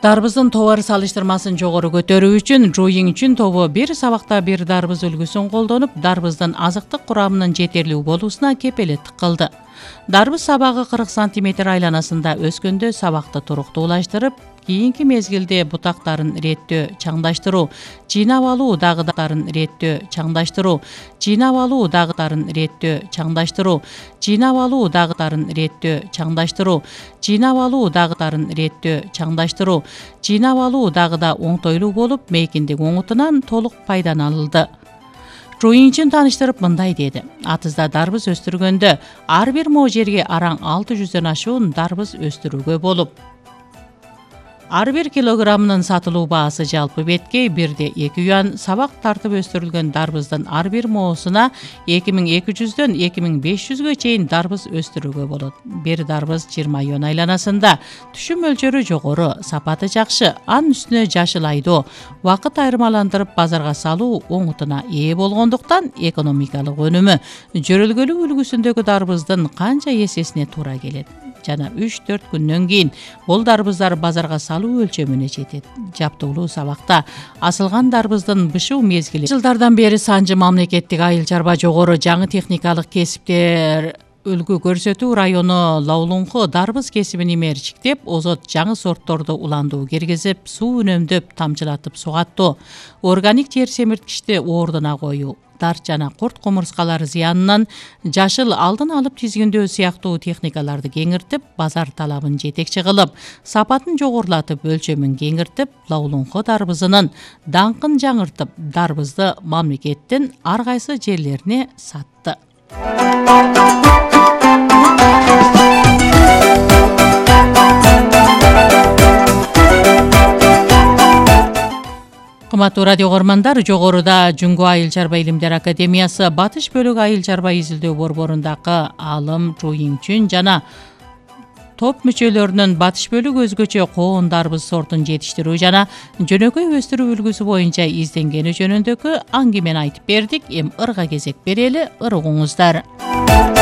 Дарбыздын товар салыштырмасын жогору көтөрүү үчүн Жуйиңчүн тобу бир сабакта бир дарбыз үлгүсүн колдонуп, дарбыздын азыктык курамынын жетерлүү болуусуна кепелеттик кылды. Дарбыз сабагы 40 сантиметр айланасында өскөндө сабакты туруктуулаштырып, кийинки мезгилде бутактарын реттөө, чаңдаштыруу, жыйнап алуу дагыдарын реттөө, чаңдаштыруу, жыйнап алуу дагыдарын реттөө, чаңдаштыруу, жыйнап алуу дагыдарын реттөө, чаңдаштыруу, жыйнап алуу дагыдарын реттөө, чаңдаштыруу, жыйнап алуу дагыда оңтойлуу болуп, мейкиндик оңутунан толук пайдаланылды. Жуйиңчүн тааныштырып мындай деди: атызда дарбыз өстүргөндө ар бир мо жерге араң 600дөн ашуун дарбыз өстүрүүгө болуп. Ар бир килограммынын сатылуу баасы жалпы бетке 1,2 юан, сабак тартып өстүрүлгөн дарбыздын ар бир моосуна 2200дөн 2500гө чейин дарбыз өстүрүүгө болот. Бир дарбыз 20 юан айланасында, түшүм мөлчөрү жогору, сапаты жакшы, анын үстүнө жашыл айдоо, убакыт айырмаландырып базарга салуу оңутуна ээ болгондуктан экономикалык өнүмү жөрөлгөлүү үлгүсүндөгү дарбыздын канча эсесине туура келет. Жана 3-4 күндөн кийин бул дарбыздар базарга салуу өлчөмүнө жетет. Жаптуулуу сабакта асылган дарбыздын бышуу мезгили жылдардан бери Санжы мамлекеттик айыл чарба жогору жаңы техникалык кесиптер үлгү көрсөтүү району Лаулунку дарбыз кесибин имерчиктеп, озот жаңы сортторду уландуу киргизип, суу үнөмдөп, тамчылатып сугаттоо, органик жер семирткичти ордуна коюу, дар жана курт кумурскалар зыянынан жашыл алдын алып тизгиндөө сыяктуу техникаларды кеңиртип, базар талабын жетекчи кылып, сапатын жогорулатып, өлчөмүн кеңиртип, Лаулунку дарбызынын даңкын жаңыртып, дарбызды мамлекеттин ар кайсы жерлерине сатты. Кымбаттуу радио көрөрмандар, жогоруда Жүнгө Айыл чарба илимдер академиясы Батыш бөлүк айыл чарба изилдөө борборундагы алым Жуйиңчүн жана топ мүчөлөрүнүн батыш бөлүк өзгөчө коон дарбыз сортун жетиштирүү жана жөнөкөй өстүрүү үлгүсү боюнча изденгени жөнүндөгү аңгемени айтып бердик. Эми ырга кезек берели, ыргыңыздар.